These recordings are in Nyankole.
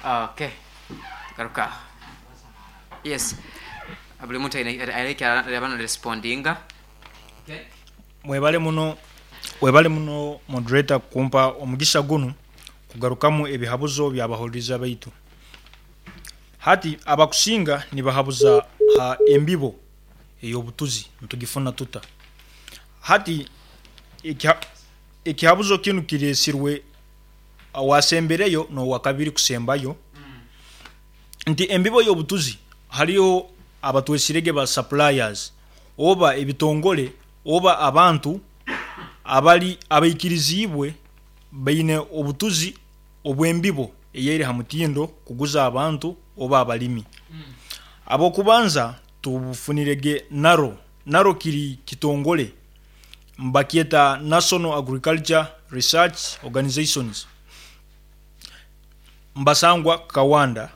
Okay. Garuka. Yes. Buli muntu aine aine ekyaraba na respondinga. Okay. Mwebale muno webale muno moderator kumpa omugisha gunu kugarukamu ebihabuzo byabahuliriza baitu. Hati abakusinga nibahabuza ha embibo eyobutuzi nitugifuna tuta? Hati ekihabuzo kinu kiresirwe owasembereyo nowakabiri kusembayo nti embibo yobutuzi hariho abatwesirege ba suppliers oba ebitongole oba abantu abali abaikiriziibwe baine obutuzi obw'embibo eyeri ha mutindo kuguza abantu oba abalimi. Ab'okubanza tubufunirege NARO. NARO kiri kitongole mbakyeta National Agriculture Research Organizations mbasangwa Kawanda.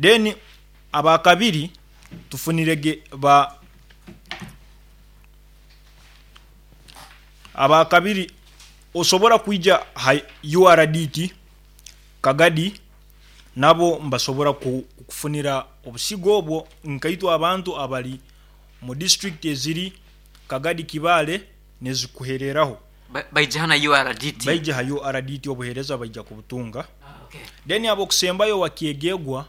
Then abakabiri tufunirege ba Abakabiri osobora kwija ha URDT Kagadi nabo mbasobora kukufunira obusigo obwo nkaitwe abantu abali mu disiturikiti eziri Kagadi Kibaale nezikuhereraho. Baija hana URDT. Baija ha URDT obuhereza baija kubutunga. Then abokusembayo wakyegegwa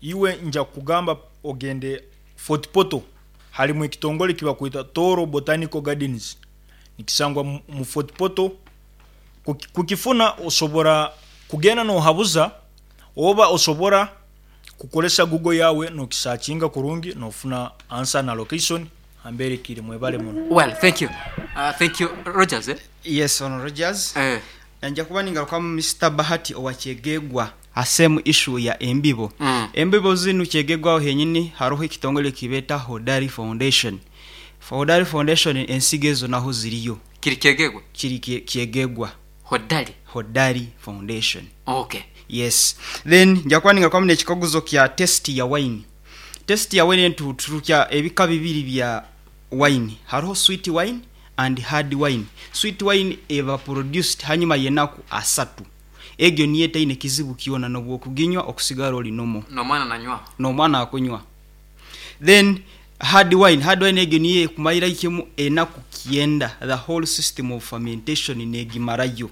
iwe nja kukugamba ogende Fort Portal harimu ekitongore ekibakweta Tooro Botanical Gardens nikisangwa mu Fort Portal. Kukifuna osobora kugenda nohabuza oba osobora kukoresa Google yawe nokisakinga kurungi nofuna answer na location nambere kiri. Mwebale muno. Well thank you thank you Rogers eh? Yes ono Rogers. Eh. Nja kuba ningarukamu Mister Bahati owa Kyegegwa ha same issue ya embibo. Embibo zinu Kyegegwa aho henyini haroho ekitongole ekibeta Hodari Foundation. Hodari Foundation ensigo ezo naho ziriyo. Kiri Kyegegwa? Kiri Kyegegwa. Hodari? Hodari Foundation. Okay. Yes. Then nja kuba ningarukamu n'ekikaguzo kya taste ya wine. Taste ya wine tuturukya ebika bibiri bya wine. Haroho sweet wine and hard wine. Sweet wine eba produced hanyuma y'enaku asatu. Egyo niyo etaine kizibu kyona n'obwokuginywa okusigara ori normal. N'omwana nanywaho. N'omwana akunywa. Then hard wine, hard wine egyo niyo ekumarira kimu enaku kyenda, the whole system of fermentation negimarayo.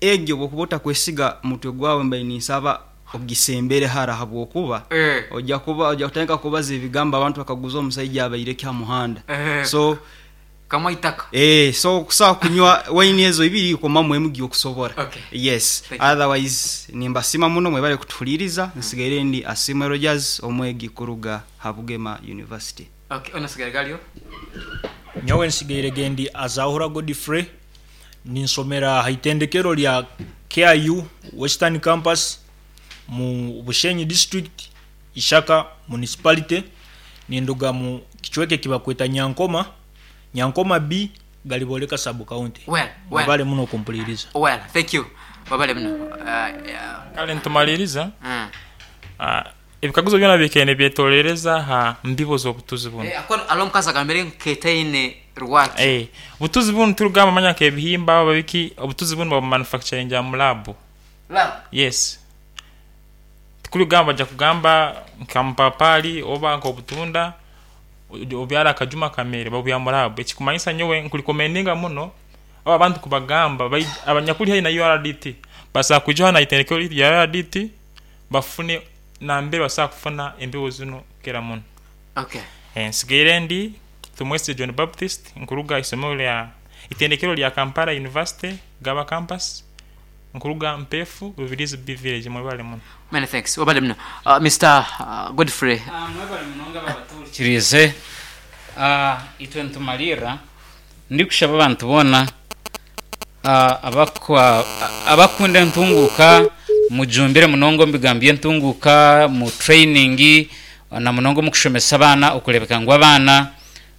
Egyo bwokuba otakwesiga mutwe gwawe mbaire ninsaba ogisembere hara habwokuba oja kuba oja kutandika kubaza ebigambo abantu bakaguza omusaija abaire ki ha muhanda. So Kamwa itaka. Eeh so kusobola kunywa wine ezo ibiri komamu emu gyokusobora. Okay. Yes. Thank you. Otherwise nimbasima muno mwebale kutuhuliriza. Nsigaire ndi Asiimwe Rogers omwegi kuruga ha Bugema University. Okay, ono asigaire gali oha? Nyowe nsigaire gendi Azahura Godfrey, ninsomera ha itendekero lya KIU Western Campus mu Bushenyi District, Ishaka Municipality, ninduga mu kicweka ekibakweta Nyankoma, Nyankoma B, Galiboleka Sub County. Well, well. Mwebale muno okumpuliriza. Well, thank you. Webale muno. Uh, Kale nitumaliriza, mm. ebikaguzo byona bikaire nibyetoorereza ha mbibo z'obutuzi bunu. Eh, akono alo omukazi agambire nketaine rwaki. Eh, obutuzi bunu tirugamba manya nk'ebihimba oba biki, obutuzi bunu babumanufacturingira mu laabu. Lab. Yes. Tikuri kugamba baja kugamba nka mupapali oba nk'obutunda obyare akajuma kamere, babwiha mu laabu. Ekikumanyisa nyowe nkulikomendinga muno abo abantu kubagamba abanyakuli haihi na URDT basobola kwija hanu aha itendekero lyaitu erya URDT bafune nambere basobola kufuna embibo zinu kukira muno. Okay. Nsigaire ndi Tumwesigye John Baptist nkuruga aha isomero lya itendekero lya Kampala University Gaba Campus. Nkuruga Mpeefu, Rubirizi B Village. Mwebale muno. Many thanks. Webale muno. Mister Godfrey. Mwebale munonga abo abatuhurikiriize. Itwe nitumalirra ndikushaba abantu boona abakukunda entunguuka mujumbire munonga omu bigambo by'entunguuka, mu training na munonga omu kushomesa abaana okureebeka ngu abaana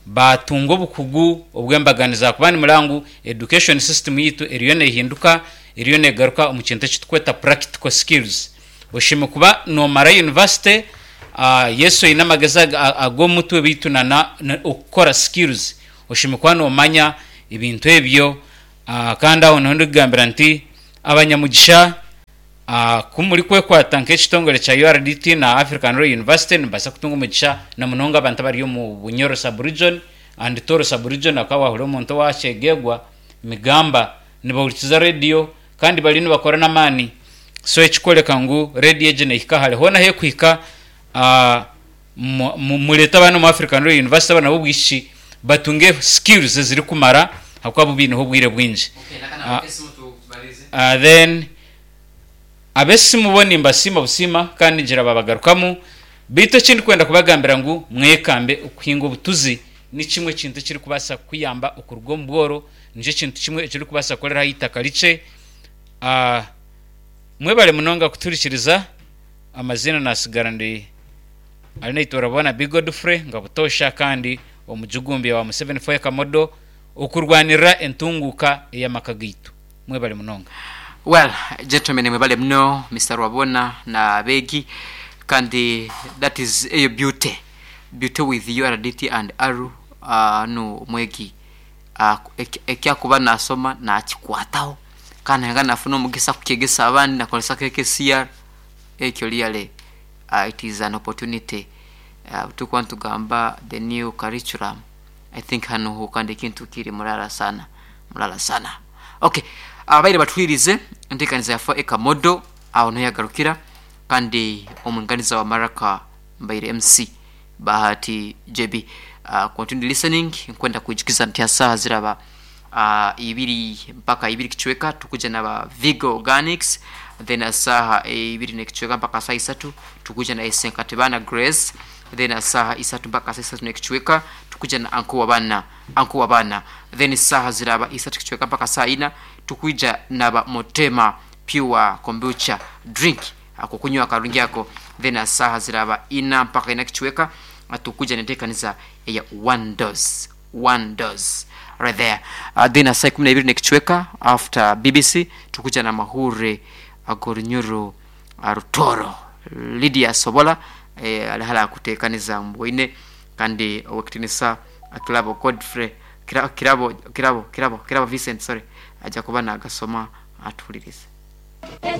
baatunga obukugu obw'embaganiza ahakuba nimureba ngu education system yaitu eriyo nehinduka, eriyo negaruka omu kintu eki turikweta practical skills. Oshemereire kuba nomara university, yes oine amagezi ag'omutwe beitu na okukora skills, oshemereire kuba nomanya ebintu ebyo. Kandi aho niho ndikugambira nti abanyamugisha. Ku murikwekwata nk'ekitongore kya URDT na African Royal University nimubaasa kutunga omugisha na munonga abantu abari omu Bunyoro sub-region and Toro sub-region ahakuba waahurira omuntu owa Kyegegwa, Migamba nibahurikiza rediyo kandi bariyo nibakora n'amaani so ekikworeka ngu rediyo egi neehika hare hoona ahu erikuhika mureete abaana omu African Royal University abaana b'obwishiki batunge skills ezirikumara ahakuba bo baineho obwire bwingi. Then ab'esimu bo nimbasiima busiima kandi ngira babagarukamu beitu eki ndikwenda kubagambira ngu mwekambe okuhinga obutuzi ni kimwe ekintu ekirikubaasa kukuyamba okuruga omu bworo nikyo kintu kimwe eki orikubaasa kukoreraho eitaka rikye. Mwebare munonga kutuhurikiriza amaziina nasigara ndi Arinaitwe Orabona B Godfrey nga butoosha kandi omujugumbya wa Museveni Foya Kamodo okurwanirira entunguuka ey'amaka gaitu. Mwebare munonga. Well gentlemen mwebale muno Mister Rwabona na abeegi kandi that is eyo beauty beauty with URDT and ARU nu omwegi ekyakuba nasoma nakikwataho kandi nanga nafuna omugisa kukyegesa abandi nakozesa KKCR ekyo really it is an opportunity obuturikuba nitugamba the new curriculum I think hanu ho kandi ekintu kiri murara sana murara sana okay ababaire batuhuririze enteekaniza yafa ekamodo aho niho yagarukira kandi omwinganiza wa maraka mbaire MC Bahati JB continue listening nkwenda kwijukiza nti asaaha ziraba ibiri mpaka ibiri kicweka tukuja naba Vigo Organics then asaaha ibiri nekicweka mpaka saaha isatu tukuja na Esenkatibana Grace then asaaha isatu mpaka saaha isatu nekicweka tukuja na Uncle Wabana Uncle Wabana then saaha ziraba isatu kicweka mpaka saaha ina tukwija naba Motema Pure Kombucha Drink akokunywa akarungi ako then asaaha ziraba ina mpaka ina kicweka tukuja nentekaniza eya one dose one dose right there then asaa ikumi naibiri nekicweka after BBC tukuja na mahure agorunyoro Rutoro Lydia Sobola eh, ali hali akutekaniza mbwoine kandi owekitinisa Kirabo Godfrey Kirabo Kirabo Kirabo Kirabo Vincent sorry aja kuba nagasoma atuhuririze.